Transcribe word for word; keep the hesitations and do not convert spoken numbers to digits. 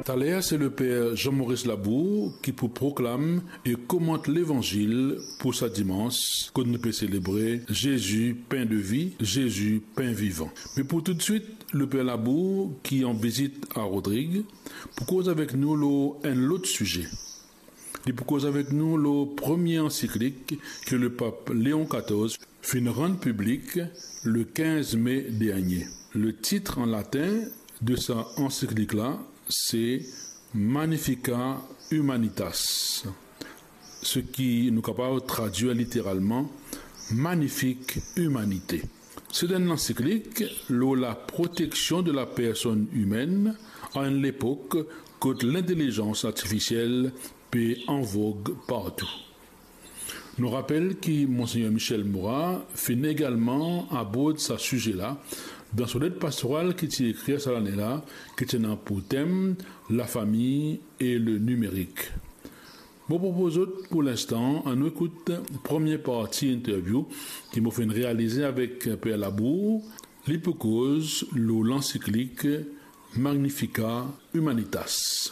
Taler, se Leper Jean-Maurice Labour ki pou proklam e komant Levanzil pou sa dimans, kot nou pe selebre Zezi, pen de vi, Zezi, pen vivan. Me pou toutswit, Leper Labour, ki an vizit a Rodrig, pou koz avek nou lor enn lot size. Li pou koz avek nou lor premie ansiklik ki Lepap Leon katorz finn rann piblik le kinz me dernie. Letit an latin de sa ansiklik la, se Magnifica Humanitas, seki nou kapav tradwir literalman Manifik Imanite. Se enn ansiklik lor laproteksion de lapersonn imenn a enn lepok kot lintelizans artifisiel pe an vog partou. Nou rapel ki Monsegner Michel Morat finn egalman abord sa size la dan so let pastoral ki ti ekrir sa lane la, ki ti ena pou tem Lafami e le nimerik. Mo propoz zot pou linstan, annou ekout premie parti interview ki mo finn realize avek Per Labour, li pou koz lor lansiklik Magnifica Humanitas.